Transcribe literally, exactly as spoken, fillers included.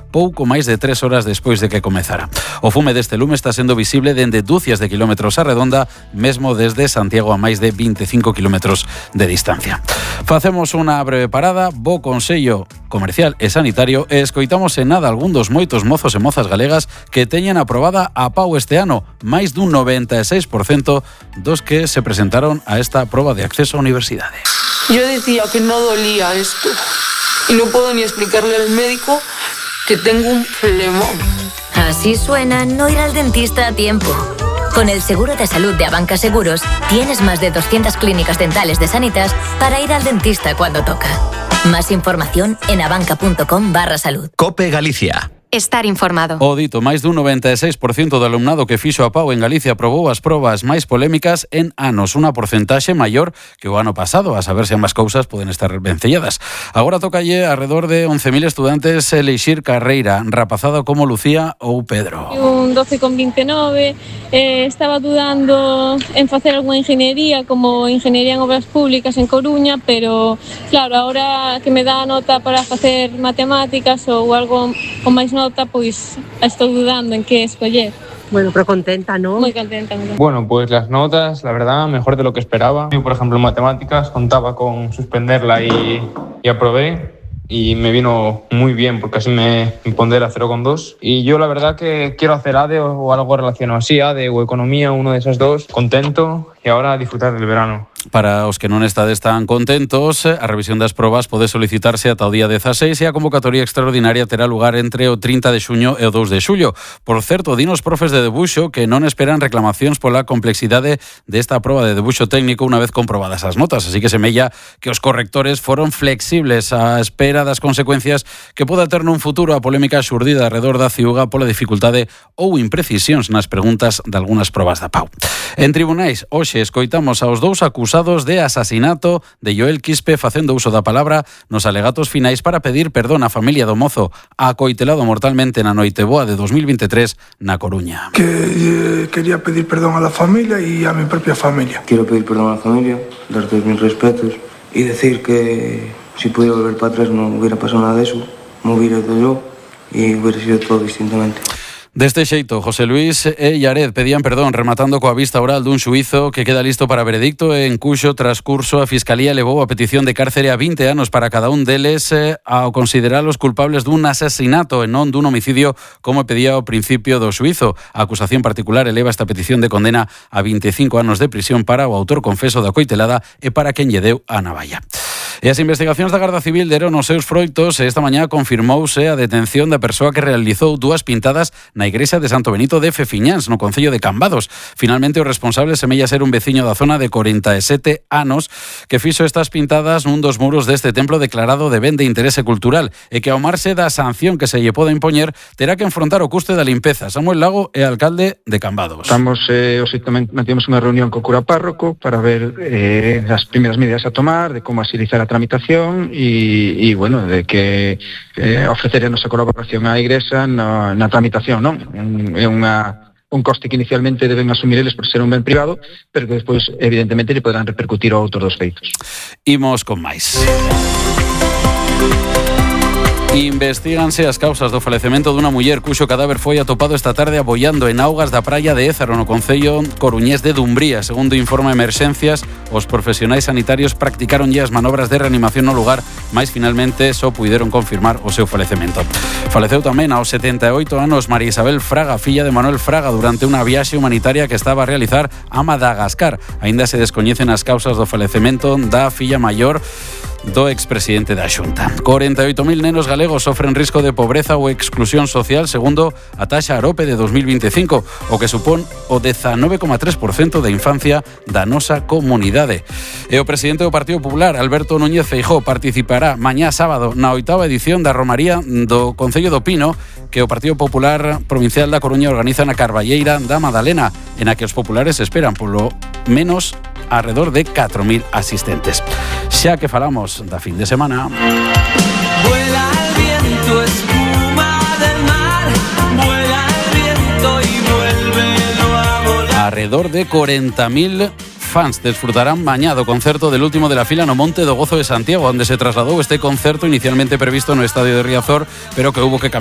pouco máis de tres horas despois de que comezara. O fume deste lume está sendo visible dende dúcias de kilómetros a redonda, mesmo desde Santiago a máis de veinticinco kilómetros de distancia. Facemos unha breve parada, bo consello comercial e sanitario e escoitamos en nada algún dos moitos mozos e mozas galegas que teñen aprobada a P A U este ano, máis dun noventa e seis por cento dos que se presentaron a esta proba de acceso á universidade. Yo decía que no dolía esto y no puedo ni explicarle al médico que tengo un flemón. Así suena no ir al dentista a tiempo. Con el seguro de salud de Abanca Seguros, tienes más de doscientas clínicas dentales de Sanitas para ir al dentista cuando toca. Más información en abanca.com barra salud. COPE Galicia. Estar informado. O dito, máis dun noventa e seis por cento do alumnado que fixo a P A U en Galicia aprobou as probas máis polémicas en anos, unha porcentaxe maior que o ano pasado, a saber se ambas cousas poden estar vencelladas. Agora tocalle alrededor de once mil estudantes elixir carreira, rapazada como Lucía ou Pedro. Un doce con vinte e nove, eh, estaba dudando en facer algunha ingeniería como ingeniería en obras públicas en Coruña, pero claro, ahora que me dá a nota para facer matemáticas ou algo con máis nota, pois estou dudando en que escoller. Bueno, pero contenta, ¿no? Muy contenta. Muy contenta. Bueno, pues las notas, la verdad, mejor de lo que esperaba. Yo, por ejemplo, en matemáticas contaba con suspenderla y, y aprobé. Y me vino muy bien porque así me pondera cero coma dos. Y yo la verdad que quiero hacer A D E o algo relacionado así, A D E o economía, uno de esas dos. Contento y ahora disfrutar del verano. Para os que non estades tan contentos, a revisión das probas pode solicitarse ata o día dezaseis e a convocatoria extraordinaria terá lugar entre o trinta de xuño e o dous de xullo. Por certo, dinos profes de debuxo que non esperan reclamacións pola complexidade desta proba de debuxo técnico unha vez comprobadas as notas, así que semella que os correctores foron flexibles á espera das consecuencias que poda ter nun futuro a polémica xurdida alrededor da ciuga pola dificultade ou imprecisións nas preguntas de algunhas probas da P A U. En tribunais, hoxe escoitamos aos dous acusados de asasinato de Joel Quispe facendo uso da palabra nos alegatos finais para pedir perdón á familia do mozo acoitelado mortalmente na Noiteboa de dos mil veintitrés na Coruña. Que eh, quería pedir perdón a la familia y a mi propia familia. Quiero pedir perdón a la familia, dar todos mis respetos y decir que si pudiera volver para atrás no hubiera pasado nada de eso, me hubiera ido yo y hubiera sido todo distintamente. Deste xeito, José Luis e Yared pedían perdón rematando coa vista oral dun xuízo que queda listo para veredicto en cuxo transcurso a Fiscalía levou a petición de cárcere a vinte anos para cada un deles eh, ao consideralos culpables dun asesinato e non dun homicidio como pedía ao principio do xuízo. A acusación particular eleva esta petición de condena a veinticinco anos de prisión para o autor confeso da coitelada e para quen lle deu a navalla. E as investigacións da Garda Civil deron os seus froitos e esta mañá confirmouse a detención da persoa que realizou dúas pintadas na igrexa de Santo Benito de Fefiñáns, no concello de Cambados. Finalmente, o responsable semella ser un veciño da zona de corenta e sete anos que fixo estas pintadas nun dos muros deste templo declarado de ben de interese cultural e que ao marxe da sanción que se lle poda impoñer terá que enfrontar o custe da limpeza. Samuel Lago é alcalde de Cambados. Estamos, eh, hoxe tamén mantivemos unha reunión co cura párroco para ver eh, as primeiras medidas a tomar, de como agilizar a tramitación e, e bueno, de que eh, ofrecer a nosa colaboración á Igrexa na, na tramitación, non? É unha, un coste que inicialmente deben asumir eles por ser un ben privado, pero que despois evidentemente lle poderán repercutir ao autor dos feitos. Imos con máis. Investíganse as causas do falecemento dunha muller cuxo cadáver foi atopado esta tarde aboiando en augas da praia de Ézaro, no concello coruñés de Dumbría. Segundo informa Emerxencias, os profesionais sanitarios practicaron as manobras de reanimación no lugar, mas finalmente só puideron confirmar o seu falecemento. Faleceu tamén aos setenta e oito anos María Isabel Fraga, filla de Manuel Fraga, durante unha viaxe humanitaria que estaba a realizar a Madagascar. Aínda se descoñecen as causas do falecemento da filla maior do expresidente da Xunta. corenta e oito mil nenos galegos sofren risco de pobreza ou exclusión social segundo a taxa Arope de dos mil veinticinco, o que supón o dezanove coma tres por cento da infancia da nosa comunidade. E o presidente do Partido Popular, Alberto Núñez Feijóo, participará mañá sábado na oitava edición da Romaría do Concello do Pino que o Partido Popular Provincial da Coruña organiza na Carballeira da Madalena, en a que os populares esperan polo menos alrededor de catro mil asistentes. Xa que falamos da fin de semana. Vuela el viento, espuma del mar, vuela el viento y vuélvelo a volar. Alrededor de cuarenta mil fans desfrutarán mañá do concerto del último de la fila no Monte do Gozo de Santiago, onde se trasladou este concerto inicialmente previsto no estadio de Riazor, pero que hubo que cambiar